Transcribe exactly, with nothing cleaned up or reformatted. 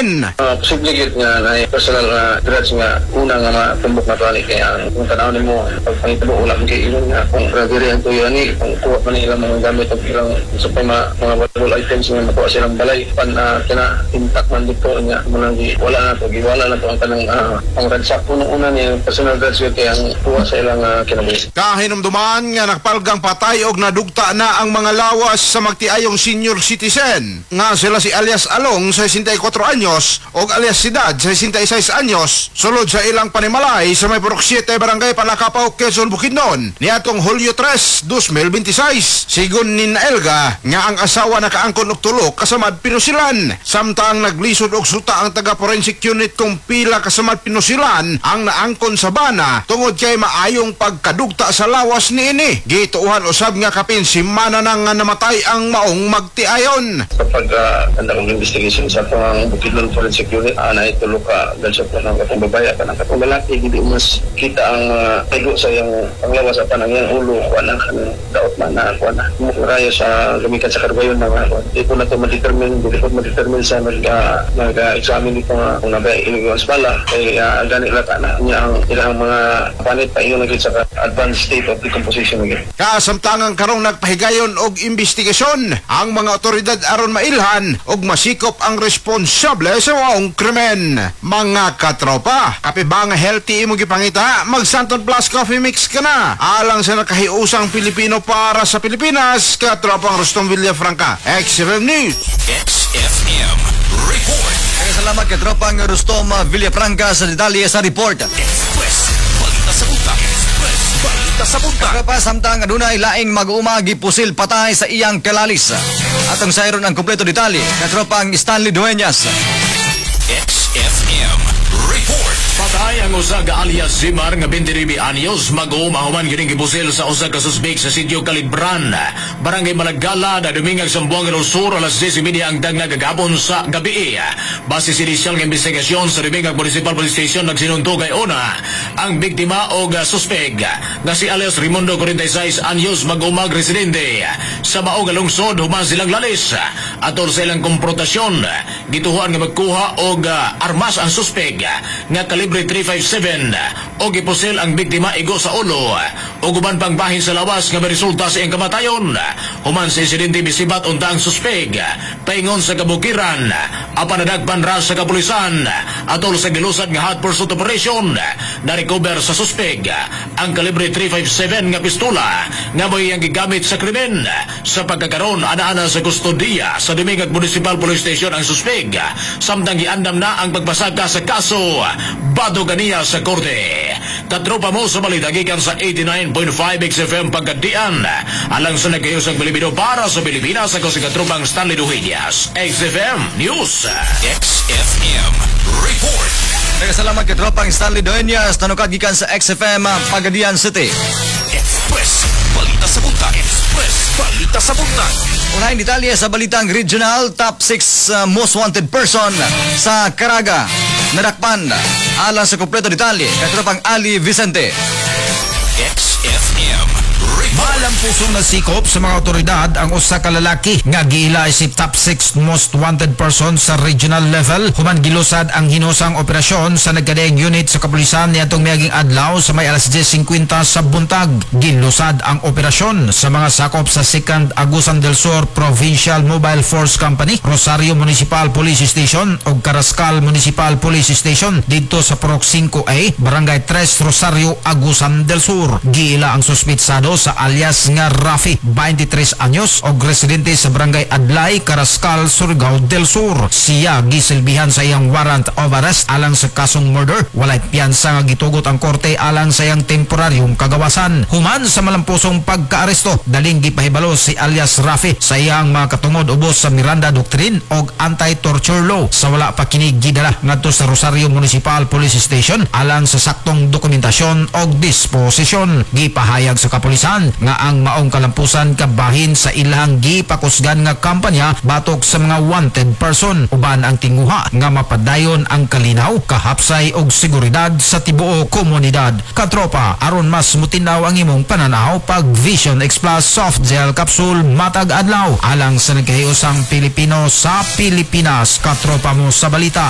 krimen. Uh, posible gyud nga na personal nga grudge nga una nga matumbok na to ani, kay ang kung tan-aw nimo pag pangitabo, wala man kay ingon nga kung diri ang tuyo ani, kung kuha man ilang mga gamit og ilang sa pa mga mga valuable items nga makuha silang balay pan uh, kana intact man dito nya mo nang gi- wala na to, giwala na to ang kanang uh, ang ransack. Unang una ni personal grudge gyud kay ang kuha sa ilang uh, kinabuhi. Kahinumduman nga nakapalgang patay og nadugta na ang mga lawas sa magtiayong senior citizen nga sila si alias Along, sesenta y kuwatro anyos, og alias Sidad, sesenta y sais anyos, sulod sa ilang panimalay sa may Purok siyete, Barangay Palakapaw, Quezon, Bukidnon niadtong Hulyo tres, dos mil beinte sais. Sigon ni Naelga nga ang asawa nakaangkon og tulo kasamad pinusilan, samtang naglisod og suta ang taga forensic unit kung pila kasamad pinusilan ang naangkon sa bana tungod kay maayong pagkadugta sa lawas niini. Gituohan usab nga kapin simana na nga namatay ang maong magtiayon. Sa pag uh, og investigation sa atong Bukidnon Forensic Unit, uh, naay tulo ka gunshot ng katong babae kanang katong lalaki, hindi mas kita ang uh, igo sa iyang panglawas, apan ang iyang ulo kuan na, kanang daot man na kuan na rayo sa gamikan sa karbayon na kuan. Di ko na to ma-determine, di ko ma-determine sa nag uh, nag-examine dito nga kung nabay inigo ang bala kay uh, gani lata na niya ang ilang mga panit pa ingon na gyud sa advanced state of decomposition na gyud. Kasamtangang karong nagpahigayon og investigasyon ang mga otoridad aron mailhan og masikop ang responsable sa maong krimen. Mga katropa, kape ba nga healthy imong gipangita? Mag Santon Plus Coffee Mix ka na. Alang sa nakahiusang Pilipino para sa Pilipinas, katropang Rustom Villafranca, X F M News. X F M Report. Kaya salamat kay tropang Rustom Villafranca sa detalye sa report. Express Balita sa Buntag. Express Balita sa Buntag. Katropa, samtang adunay laing mag-uma gipusil patay sa iyang kalalis. Atong sayron ang kompleto detalye. Katropang Stanley Dueñas. X F M Report. Patay ang usa ka alias Zimar nga beinte nuebe anyos mag-uuma human kining gipusil sa usa ka suspek sa sitio Kalibran, Barangay Malagala, na Dumingag, Zamboanga del Sur, alas diyes y media ang dagna kagahapon sa gabi. Base sa inisyal nga investigasyon sa Dumingag Municipal Police Station, nagsinuntog kay una ang biktima og suspek nga si alias Raimundo, kwarenta y sais anyos mag-umag residente sa mao nga lungsod human silang lalis. Atol sa ilang konfrontasyon, gituhuan nga magkuha og armas ang suspek nga kalibre three fifty-seven o gipusil ang biktima igo sa ulo o uban pang bahin sa lawas nga resulta sa iyang kamatayon. Human sa insidente, misibat unta ang suspek paingon sa kabukiran apan nadagpan ra sa kapulisan. Atol sa gilusad nga hot pursuit operation, na-recover sa suspek ang kalibre three fifty-seven nga pistola nga mo'y iyang gigamit sa krimen. Sa pagkakaroon, ana-ana sa kustodiya sa Dumingag Municipal Police Station ang suspek samtang giandam na ang pagpasaka sa kaso batok kaniya sa korte. Katropa mo sa balita gikan sa eighty-nine point five X F M Pagadian. Alang sa nagkayusang Pilipino para sa Pilipinas, ako si katropang Stanley Duhillas. X F M News. X F M Report. Kaya salamat kay tropang Stanley Dueñas, tanukad gikan sa X F M Pagadian City. Express Balita sa Buntag. Express Balita sa Buntag. Unahing detalye sa balitang regional, top six uh, most wanted person sa Caraga nadakpan. Alang sa kompleto detalye, katropang Ali Vicente. X F M Report. Malampusong nasikop sa mga otoridad ang usa ka lalaki nga giila isip top six most wanted person sa regional level human gilusad ang hinusang operasyon sa nagkadaiyang unit sa kapulisan niadtong miaging adlaw sa may alas diyes singkwenta sa buntag. Gilusad ang operasyon sa mga sakop sa second Agusan del Sur Provincial Mobile Force Company, Rosario Municipal Police Station ug Carrascal Municipal Police Station didto sa Purok singko A, Barangay tres, Rosario, Agusan del Sur. Giila ang suspitsado sa alias nga Rafi, beinte tres anyos og residente sa Barangay Adlay, Carrascal, Surigao del Sur. Siya gisilbihan sa iyang warrant of arrest alang sa kasong murder. Walay piyansa nga gitugot ang korte alang sa iyang temporaryong kagawasan. Human sa malampusong pagkaaresto, daling gipahibalo si alias Rafi sa iyang mga katungod ubos sa Miranda Doctrine og anti-torture law sa wala pa kini gidala ngadto sa Rosario Municipal Police Station alang sa saktong dokumentasyon og disposisyon. Gipahayag sa kapulisan nga ang maong kalampusan kabahin sa ilang gipakusgan nga kampanya batok sa mga wanted person uban ang tinguha nga mapadayon ang kalinaw, kahapsay og seguridad sa tibuok komunidad. Katropa, aron mas mutinaw ang imong pananaw, pag Vision X Plus Soft Gel Capsule matag adlaw alang sa nagkahiusang Pilipino sa Pilipinas. Katropa mo sa balita.